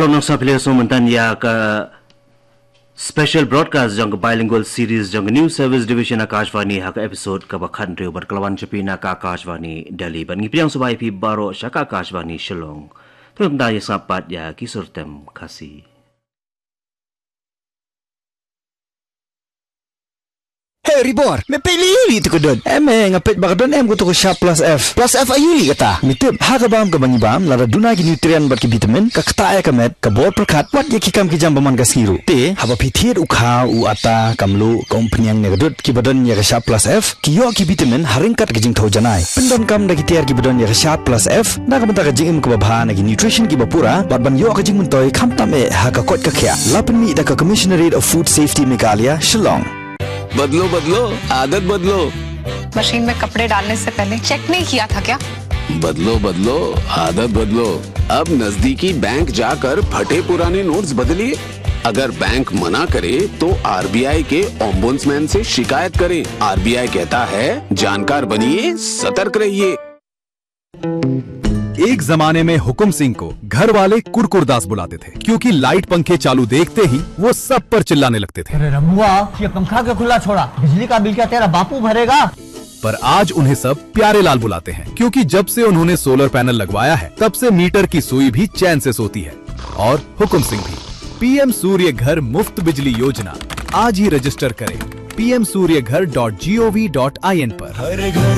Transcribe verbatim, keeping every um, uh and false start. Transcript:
Nang sa phi la sngewthuh mynta ïa ka special broadcast jong ka bilingual series jong ka News Service Division Akashvani ha ka episode kaba khathynriew bad ka la wan sha phi na ka Akashvani Delhi. Bad ngi pdiang sngewbha ïa phi baroh sha ka Akashvani Shillong. Te mynta ïa sngap pat ïa ki sur tem Khasi. He Ribor, me peit lei lei tu ka don. Em, eh, nga peit ba ka don em ka tu ka Sharp Plus F. Plus F aïu lei kata? Me tip, ha ka bam kaba ngi bam, lada duna ki nutrient bad ki vitamin, ka ktah ïa ka met, ka bor pyrkhat, wat ïa ki kam ki jam ba man ka sngi ruh. Te, haba phi thied u khaw, u atta, ka mluh, ka umphniang ne ka dud, kiba don ïa ka Sharp Plus F, ki ïoh ki vitamin, ha ryngkat ka jingthew janai. Pyndonkam da ki tiar kiba don ïa ka Sharp Plus F, na ka bynta ka jingim kaba bha na ki nutrition kiba pura, bad ban ïoh ka jingmyntoi khamtam eh ha ka koit ka khiah. La pynmih da ka Commissionerate of Food Safety Meghalaya, Shillong. बदलो, बदलो, आदत बदलो। मशीन में कपड़े डालने से पहले चेक नहीं किया था क्या? बदलो, बदलो, आदत बदलो। अब नजदीकी बैंक जाकर फटे पुराने नोट्स बदलिए। अगर बैंक मना करे, तो आरबीआई के ओम्बुड्समैन से शिकायत करें। आरबीआई कहता है, जानकार बनिए, सतर्क रहिए। एक जमाने में हुकुम सिंह को घर वाले कुरकुरदास बुलाते थे, क्योंकि लाइट पंखे चालू देखते ही वो सब पर चिल्लाने लगते थे। अरे रमुआ, ये पंखा क्यों खुला छोड़ा? बिजली का बिल क्या तेरा बापू भरेगा? पर आज उन्हें सब प्यारे लाल बुलाते हैं, क्योंकि जब से उन्होंने सोलर पैनल लगवाया है, तब से मीटर की सुई भी चैन से सोती है और हुकुम सिंह भी। पीएम सूर्य घर मुफ्त बिजली योजना, आज ही रजिस्टर करें पीएम सूर्य घर डॉट जीओवी डॉट आईएन पर।